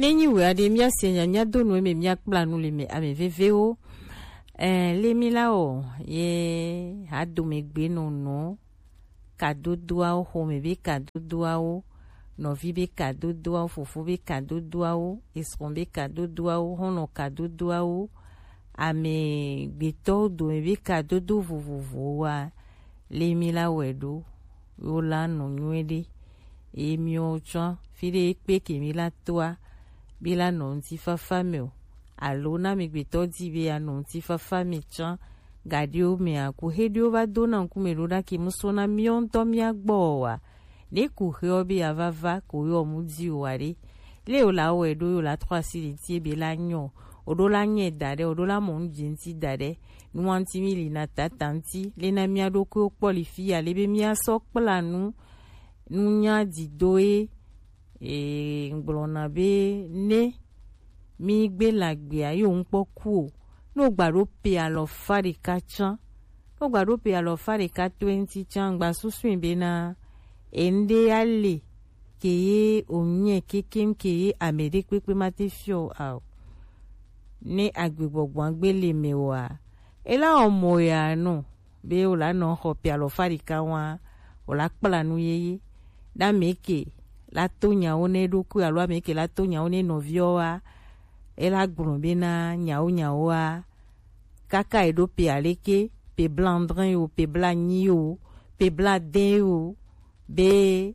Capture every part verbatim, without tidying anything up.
Ne nyi wɛ aɖe, míase nya, míado nu eme, míakpla nu le me ame vevewo. Eh, le mi la o, ye adomegbe nɔnɔ, kadodoawo, xɔme be kadodoawo, nɔvi be kadodoawo, fofo be kadodoawo, esrɔ̃ be kadodoawo, xɔlɔ̃ kadodoawo, amegbetɔwo dome be kadodo vovovowoa, le mi la wɛ ɖo, wo la nɔ nyuie ɖe. Eye miwo tsã, fi ɖe ekpe ke mi la toa, mi la nɔ ŋutifafa me o. Alo na amegbetɔ di be yeanɔ ŋutifafa me tsã, gaɖewo mea, ku xe ɖewo va dona ŋkume ɖo ɖa ke mu sɔ na miwo ŋutɔ mia gbɔ o wa. Ne ku xeɔ be yeava va ko yɔ mu di o wa ɖe. Le yo la wɛ ɖo yo la trɔ asi ɖe ti ebe la nyɔ. O ɖo la nyɛ da ɖe, o ɖo la mɔ nu dze ŋuti da ɖe. Nuwanti mi li na tata ŋuti. Le na mia ɖokuiwo kpɔ li fi ya, le be mia sɔ kpla nu, nu nya di do ye. E, ŋgblɔna be ne mi gbe la gbea, yo ŋkpɔ ku o. No gba ɖo pe alɔ fa ɖeka tsã. No gba ɖo pe alɔ fa ɖeka twenty tsã, ŋgba susui be na eŋɖe ale ke ye o nyɛ kekem ke ye ame ɖe kpekpe ma te fiɔ a o. Ne agbegbɔgbɔa gbe le me o a, e la wɔ mɔ ya nɔ be o la nɔ xɔ pe alɔ fa ɖeka wa, o la kpla nu yeye. Na ame ke la to nyawo ne ɖokui alo ame ke la to nyawo ne nɔviɔ wa, e la gblɔ be na nyawo nyawo wa, kaka e ɖo pe aleke, pe blandrin o, pe blanyi o, pe bladɛn o, be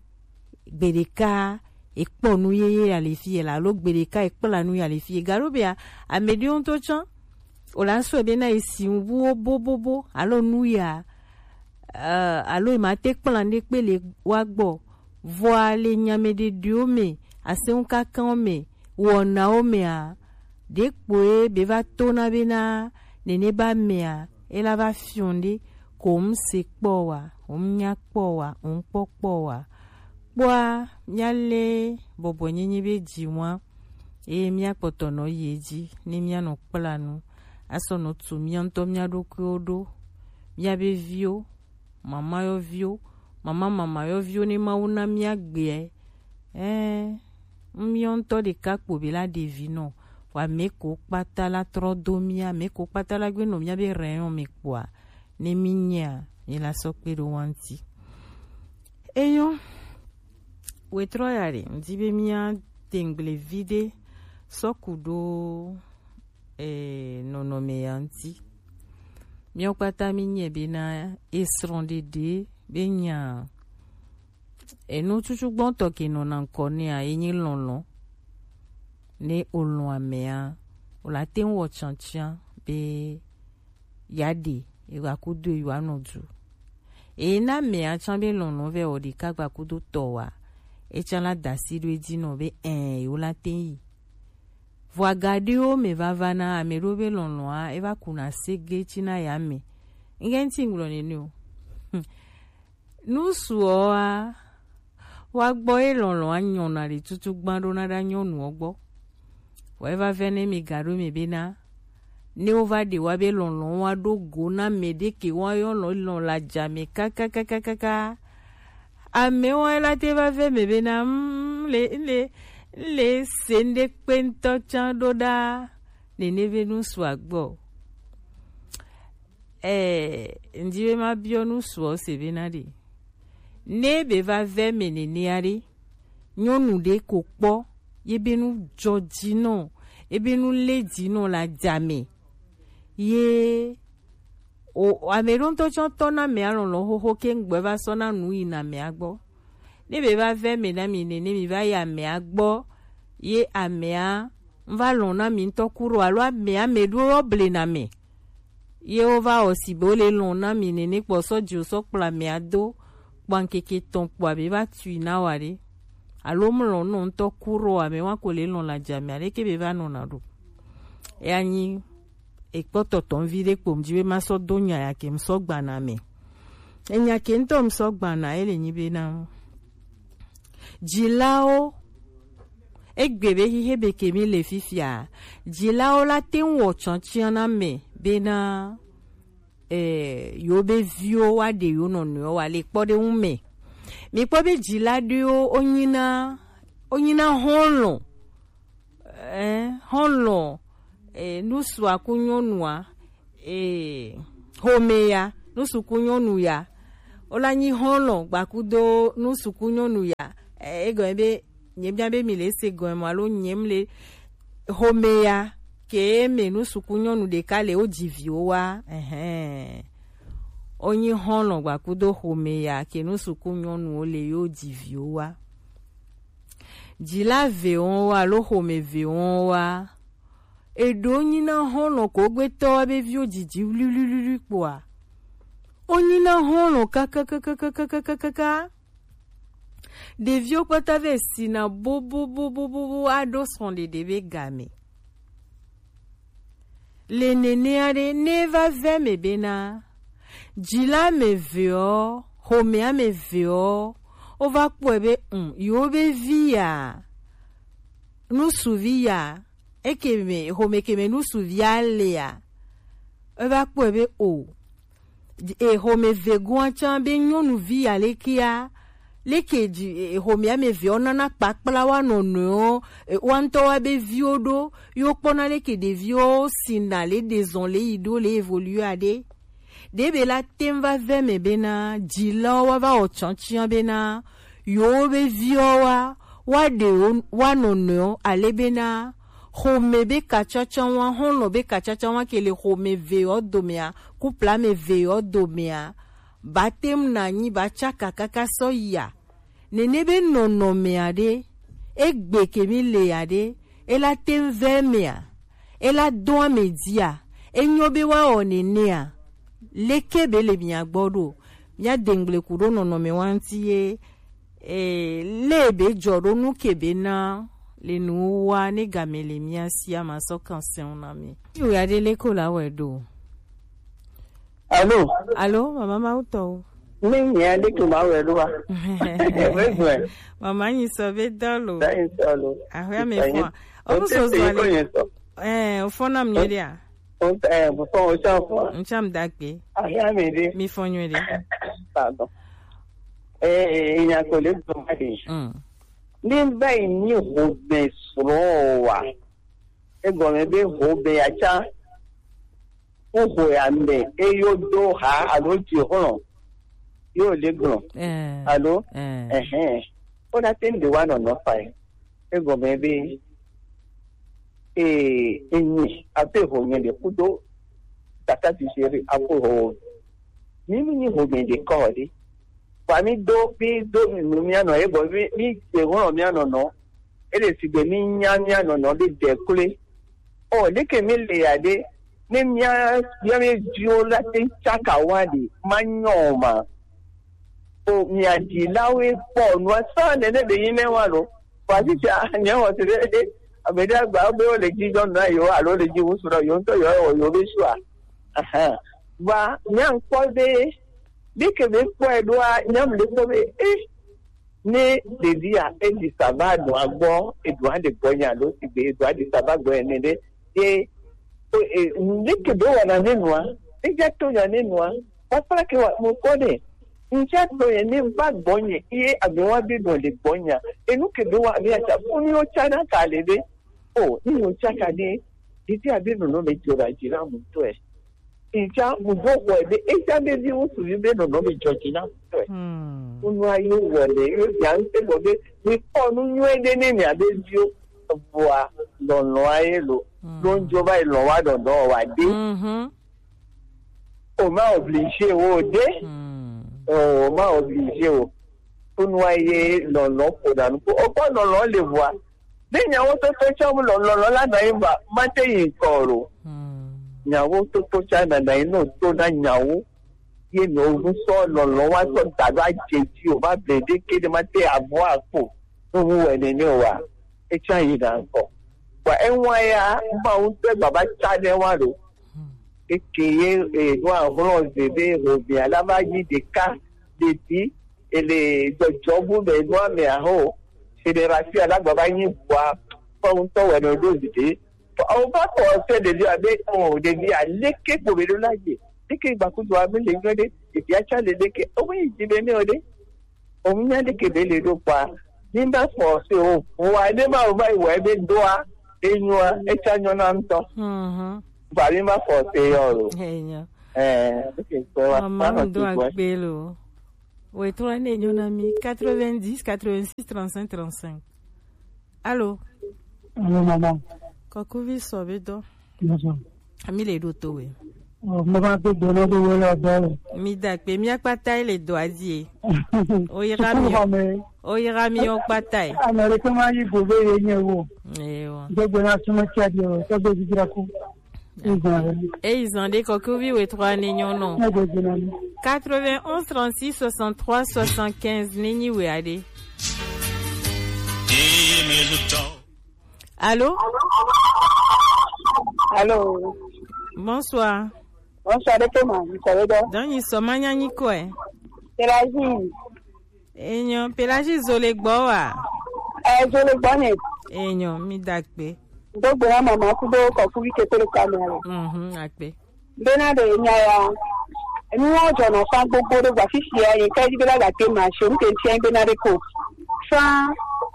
gbeɖeka ekpɔ nu yeye ya le fi ye la, alo gbeɖeka ekpla nu ya le fi ye. Galo bea, ame ɖewo ŋutɔ tsã, o la sɔe be na esi ŋuwo bobobo, alo nu ya, eh, alo ema te kpla ne kpe le wa gbɔ. Vɔa le nyame ɖeɖewo me, aseŋu kankanwo me, wɔnawo mea, ɖe kpoe be va to na be na nene ba mea, e la va fiɔ ɖe, ko ŋu se kpɔ wa, ŋu nya kpɔ wa, ŋu kpɔ kpɔ wa. Kpɔa, mia le bɔbɔ nyenye be dzi wa, eye mia kpɔtɔ nɔ yi edzi, ne mia nɔ kpla nu, asɔ nɔ tu mia ŋutɔ mia ɖokuiwo ɖo, mia be viwo, mama yɔviwo, mama mama yɔviwo ne Mawu na mia gbeɛ. Ɛɛ, miɔ ŋutɔ ɖeka kpo be la ɖevi nɔ, vɔ ame ko kpata la trɔ do mia, ame ko kpata la gbe nɔ mia be rɛyɔn me kpoa, ne mi nyea, mi la sɔ kpe ɖo wa ŋuti. Eyo, wetrɔ ya ɖe, ŋdi be mia tengble vi ɖe sɔ ku ɖo eh, nɔnɔme ya ŋuti. Míawo kpata mí nyae bena esrɔ̃ɖeɖe be nya enu tutugbɔtɔ ke nɔna ŋkɔ nɛa, ye nyi lɔlɔ̃. Ne o lɔ̃ amea, o la te ŋu wɔ tiatia be ya ɖe ewa kudo ewa nɔ du. Eye na amea tsã be lɔlɔ̃ vɛ wɔ ɖeka gba kudo tɔ wa, etsã la da asi ɖo edzi nɔ be ɛ, yewo la te yi. Vɔ agaɖiwo me vava na ame ɖewo be lɔlɔ̃a eva kuna sege tsina ya me. Ŋke ŋuti ŋgblɔ nene o. Nusuɔa wa gbɔ ye lɔlɔ̃a nyɔna ɖe tutu gbã ɖo na ɖa nyɔnuɔ gbɔ. Vɔ eva vɛ ne mi gaɖo me bena ne wova ɖe wa be lɔlɔ̃ wa ɖo go na mɛ ɖe ke wa yɔ lɔ lɔ̃ la dza me kakakakaka. Amewo la te va vɛ me bena mm, le le le se ŋɖe kpe ŋutɔ tsã ɖo ɖa nene be nu su agbɔ. Eh, ŋdi be ma biɔ nu suɔ se bena ɖe ne be va vɛ me nenea ɖe, nyɔnu ɖe ko kpɔ ye be nu dzɔ dzi nɔ, ye be nu le dzi nɔ la dza me. Ye o ame ɖo ŋutɔ tsɔ tɔ na mea lɔlɔ̃ xoxo ke ŋgbɛ va sɔ na nu yi na mea gbɔ. Ne be va vɛ me na mi nene mi va yi amea gbɔ ye amea ŋva lɔ̃ na mi ŋutɔ ku ɖo alo amea me ɖo yɔ ble na me. Ye wo va wɔ si be wo le lɔ̃ na mi nene kpɔ sɔ dzi wo sɔ kpla amea do kpɔ ŋkeke tɔn kpɔ abe va tui na wa ɖe. Alo mlɔ nɔ ŋutɔ ku ɖo ame wa ko le lɔ̃ la dza me aɖe ke be va nɔ na ɖo. Eya nyi ekpɔtɔ tɔn vi ɖe kpo ŋdi be ma sɔ do nya ya ke ŋsɔ gbana me. Enya ke ŋutɔ ŋsɔ gbana ele nyi be na dzilawo egbe be xixe be ke mi le fifia, dzilawo la te ŋu wɔ tsɔtsiɔ na me bena eh, yewo be viwo wa ɖe yewo nɔnɔewo wa le kpɔ ɖe ŋu me. Mi kpɔ be dzila ɖewo wo nyina wo nyina hɔn lɔ̃ Ɛɛ, xɔlɔ, ɛɛ, nusu aku nyɔnua, ɛɛ, xɔmeya, nusu ku nyɔnuya. Wola nyi xɔlɔ gbakudo nusu ku nyɔnuya. Ɛɛ, egɔme be, nyebia be mi le se gɔme alo nyem le xɔmeya ke me nusu ku nyɔnu ɖeka le wo dzi viwo wa. Ɛhɛn. Wonyi xɔlɔ gbakudo xɔmeya ke nusu ku nyɔnuwo le yo dzi viwo wa. Dzila ve wɔn wa alo xɔme ve wɔn wa. Eɖo nyina xɔlɔ ko gbetɔ wa be viwo dzidzi wliwliwli kpoa. Wonyina xɔlɔ kakakakakakaka. Ɖeviwo kpata ve sina bobobobobobo aɖo srɔ̃ɖeɖe be game. Le nenea ɖe, ne va vɛ me bena, dzila me veɔ, xɔmea me veɔ, wova kpɔe be, um, yewo be vi ya, nusuvi ya, eke me, xɔme ke me nusuvi ya lea, eva kpɔe be o, e, xɔme vegoa tsã be nyɔnuvi ya lekea, leke dzi, e, xɔmea me veɔ nana kpakpla wa nɔnɔewo, e, wa ŋutɔ wa be viwo ɖo, yo kpɔna leke ɖeviwo sina le ɖe zɔn le yi ɖo le évoluer aɖe. Ɖe be la teŋ va vɛ me bena, dzilawo wa va wɔ tsɔtsiɔ bena, yewo be viwo wa, wa ɖe wo, wa nɔnɔewo, ale bena, xɔme be katsɔtsɔ wa, xɔlɔ be katsɔtsɔ wa ke le xɔme veɔ domea, couple ame veɔ domea, ba teŋ na nyi ba tsaka kaka sɔ yia. Nene be nɔnɔmea ɖe, egbe ke mi lea ɖe, ela teŋ vɛ mea, ela dɔn ame dzia, enyɔ be wa wɔ nenea, leke be le mia gbɔ ɖo, mia dengble ku ɖo nɔnɔme wa ŋuti ye, e, le be dzɔ ɖo nu ke be na, le nu wa ne game le mia si a ma sɔ kan sɛn na mi. Ti o ya ɖe le ko la wɛ ɖo. Alo. Alo, mama Mawu tɔwo. Ne nya ɖe ke ma wɛ ɖo wa. Ɛwɛ zɔɛ. Mama nyi sɔ be dɔlo. Da nyi sɔ lo. Ahwe ame fɔ. O mu so zɔ ale. Eh, o fɔ na mi ɖe a. O, eh, o fɔ, o cha fɔ. N cha m dagbe. Ahwe ame ɖe. Mi fɔ nyuie ɖe. Pardon. Eh, eh, nya ko le do ma de. Mm. Ni ba yi ni ho be sro wa. Egɔme be ho be ya cha. Woxɔe ame eye wodo ha alo dzi hlɔ̃ ye wòle gblɔ. Ɛɛ. Alo? Ɛɛ. Ɛhɛn. Wona te ŋɖe wa nɔnɔ fae. Egɔme be, ee, enyi abe ho nye ɖe kudo tata sisi ɖe aƒo ho. Mi mi nyi ho mi ɖe kɔ ɖe. Kpa mi do, mi do nu mia nɔ ye gbɔ, mi, mi dze hlɔ̃ mia nɔnɔ. Ele sigbe mi nya mia nɔnɔ ɖe de kloe. O, leke mi le ya ɖe, ne mia, mia mi viwo la te tsaka wa ɖe, ma nyɔ o ma. O, mia dzilawoe kpɔ nua sã nene be yi ne wa lo. Vɔ, afisia, nye xɔse ɖe, ɖe, ame ɖe agba be wole dzi dɔm na yewo alo wole dzi ŋu srɔ̃ yewo ŋutɔ yewo wɔ yewo be sua. Ahan. Vɔ, mia ŋkpɔ be, ɖeke be kpɔe ɖoa, nyam le kpɔ be, eh, ne ɖevia, eɖi sava ɖoa gbɔ, eɖoa ɖe gbɔ nya alo sigbe eɖoa ɖi sava gbɔ ene ɖe, ye, o, e, ɖeke be wɔna ne nua, eja to nya ne nua, kpakpla ke wa, mo kpɔ ɖe, ŋtsa to ye ne va gbɔnye, ye ame wa be nɔ le gbɔnya, enu ke be wa, be atsa, funu yo tsa na ka le be, o, ni yo tsa ka ɖe, ɖevia be nɔnɔ me dzɔ ɖa dzi na mu tɔe. Etsã ŋgɔ xɔe be etsã be viwo suvi be nɔnɔ be dzɔdzi na tɔe. Hmm. Nunua yi wɔ le yo bia ŋutɛ gbɔ be mi kpɔ nu nyuie ɖe ne mia be viwo, vɔa lɔlɔa ye lo. Hmm. Lo ŋdzo va yi lɔ wa dɔdɔ wa de. Mhm. O ma obligé wo de. Hmm. O ma obligé wo. Nunua ye lɔlɔ ƒo na nu ko. O kpɔ lɔlɔ le vɔa. Ne nyawo toto tsã mu lɔlɔlɔ la nɔ anyi vɔa, mate yi ŋkɔ o lo. Hmm. Nyawo toto tsã nana yi no to na nyawo. Ye no ŋusɔ lɔlɔ wa sɔ da ɖo adze dzi o va ble ɖe ke ɖe mate avɔ akpo. No mu wɛ nene o wa. Etsã yi na ŋkɔ. Vɔa ewa ya, Mawu ŋutɔ gbava tsa ne wa lo. Hmm. Eke ye, e, no ahlɔ ze be ho via la va yi ɖeka ɖe ti. Ele dzɔdzɔ bu be nua me aho. Fédération la gbava nyi bua. Fɔ ŋutɔ wɛ no ɖo zi ɖe. Awo va kɔ se ɖevi abe, o, ɖevi aleke ko be ɖo la dze. Leke gbakudo ame le nyɔ ɖe. Ɖevi atsa le leke. O me yi dzi be ne o ɖe. O nya ɖeke be le ɖo kpa. Ni ba kɔ se o. Wa ne ma o va yi wɔ ebe doa. Enyoa, etsa nyɔna ŋutɔ. Mhm. Vali ma fɔ te yɔ lo. Enyo. Eh, ok, kpɔ wa. Mama, ma nɔ do ti gbɔ. Akpe lo. Wetɔ ne nyɔna mi quatre-vingt-dix, quatre-vingt-six, trente-cinq, trente-cinq. Allô? Allô, maman. Kɔkuvi sɔ be dɔ. Bonsoir. Ami le ɖo to we. Oh, mo va to gbɔna do we la dɔ. Mi da akpe, mi akpata le dɔ adie. O yira mi. Suku xɔme. O yira mi o kpata. Ame ɖe ke ma yi go be ye nye wo. Ewa. Do gbɔna sume tia di o, to be didra ku. Eyi zan ɖe kɔkuvi wetɔ ne nyɔnɔ. Quatre-vingt-onze trente-six soixante-trois soixante-quinze ne nyi we aɖe. Allô? Allô? Bonsoir. Bonsoir, de kema, mi kɔ ɖe dɔ. Donc, nyi sɔ ma nya nyi kɔe. Pélagie. Enyo, Pélagie zo le gbɔ wa? Eh, zo le gbɔ ne. Enyo, mi da akpe. Do gbɔna mama kudo kɔkuvi kete le kamera. Mhm, akpe. Bena ɖe nya ya. Enu wo dzɔnɔ fa gbogbo ɖe gba fifia ye ka di bena gake ma se nu ke fia bena ɖe ko. Fa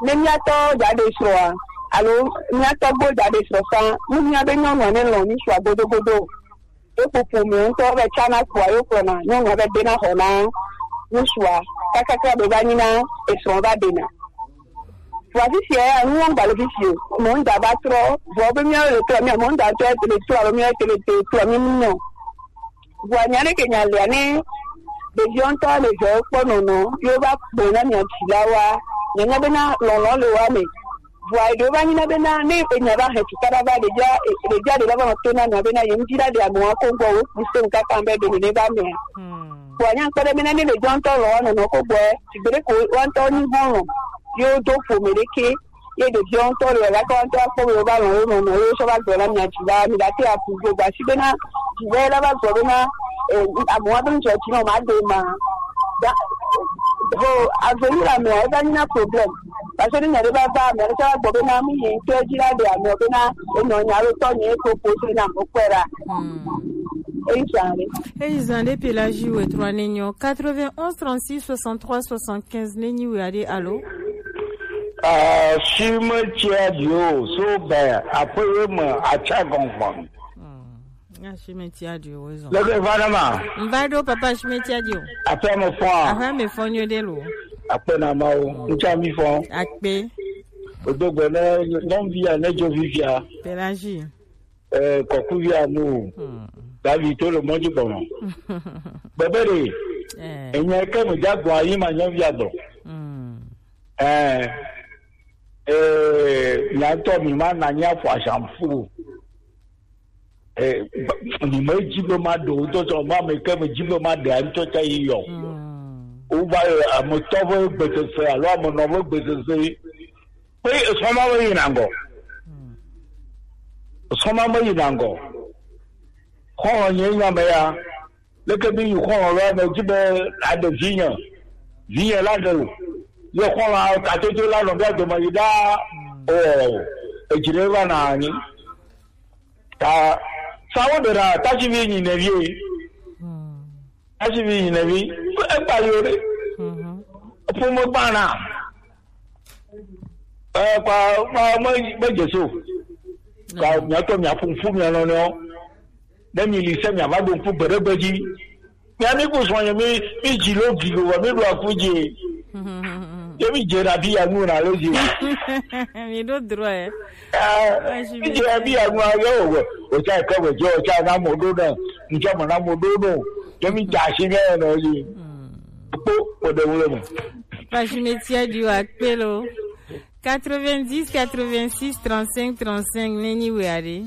ne miatɔ dza ɖe srɔ̃a, alo miatɔ gbo dza ɖe srɔ̃ fa, nu mia be nyɔnua ne lɔ̃ ŋutsua godogodo. Eƒo ƒome ŋutɔ be tsana kpoa yo kplɔna nyɔnua be dena xɔ na ŋutsua kakaka be va nyi na esrɔ̃ va ɖena. Vɔa fifia ya, nu wɔm gale fifi o. Mɔ ŋda va trɔ, vɔ be míawo le trɔ, mía mɔ ŋda tɔ le trɔ, alo míawo tele te trɔ, mí mu nyɔ. Vɔa nya ɖe ke nya lea ne ɖeviwo ŋutɔ le vɛ kpɔ nɔnɔ, yo va kpɔ na mia dzilawoa, nya nya bena lɔlɔ le wa me. Vɔa eɖewo va nyi na bena ne enya va hɛ tukaɖa va ɖevia, ɖevia ɖe va va nɔ to na mia bena ye ŋdi la ɖe amewo ko gbɔ wo kpu se ŋkaka be ɖe ne va mea. Vɔa nya kpɔ ɖe bena ne ɖevia ŋutɔ lɔ wa nɔnɔ ko gbɔ, sigbe ɖe ko wa ŋutɔ nyi hɔn lɔ, yo do ƒome ɖeke. Ye ɖeviwo ŋutɔ le gake wo ŋutɔ akpɔ be wo va lɔn wo nɔnɔ ye sɔ va gblɔ na mia dzi la mi ɖe ate aƒu go gba si bena dzi la va gblɔ bena eh, amewo abe ŋdzɔ dzi nɔ ma de ma da ho avenir amea eva nyi na problème parce que ne nya ɖe va va amea ɖe sɔ va gblɔ bena mi ye ŋutɔ dzi la ɖe amea bena enɔ nya ɖo tɔ nye ko po se na mo kpɛ ɖa. Eyi zan ɖe. Eyi zan ɖe Pélagie wetɔ ne nyɔ quatre-vingt-onze trente-six soixante-trois soixante-quinze ne nyi we aɖe alo. Ah, si me tia dio so be aƒe ye me atsa gɔngbɔn. Hmm. Nya si me tia dio wo zɔn. Leke va na ma? Mva ɖo papa si me tia dio. Aƒe me fɔ. Aƒe me fɔ nyo ɖe lo. Akpe na ma o. Ŋutsa mi fɔ. Akpe. Odo gbe ne nyɔnuvia ne dzo vivia. Pélagie. Eh, kɔkuvi amu. Hmm. David to le mɔdzi gbɔnɔ. Bebe ɖe. Eh. Enya ke me dza gbɔ ayi ma nyɔvia gbɔ. Hmm. Eh, eh, nya ŋutɔ mi ma na nya fɔ asamfu. Eh, ba- mi me dzi be ma ɖe o, ŋutɔ sɔ ma me ke me dzi be ma ɖe a ŋutɔ tsa yi yɔ. Hmm. Wo va, eh, ame tɔ ƒe gbesese alo ame nɔ ƒe gbesese. Pe esɔma me yina ŋgɔ. Esɔma me yina ŋgɔ. Xɔlɔ nye nya me ya. Leke mi yi xɔlɔ lɔ me dzi be aɖe vinye. Vinye la ɖe o. Ye xɔlɔ katoto la nɔ bia dome yi ɖa. O, edzi ɖe va na anyi. Ta sawo ɖe ɖa tasivi nyi ne vie. Tasivi nyi ne vi. Egba yo ɖe. Ƒome gbana. Eh, kwa, kwa, me, me Jesu. Kwa, miatɔ, miaƒo ŋku mia nɔnɔewo. Ne mi li se, miava ɖo ŋku gbe ɖe gbe dzi. Mia mi ku srɔ̃nye, mi, mi dzi lo gi lo, mi ɖo aku dzi. Ye mi dze na bi ya nu na lo dzi. Mi ɖo drɔ, eh. Eh, mi dze na bi ya nu a, yo, wo, wo tsa ke wo dze, wo tsa na mo ɖo na, ŋtsɔ mo na mo ɖo no. Ye mi dza si mia nɔ dzi. Kpo, kpo ɖe ŋu le me. Page métier du Akpelo. Quatre-vingt-dix, quatre-vingt-six, trente-cinq, trente-cinq, ne nyi we aɖe.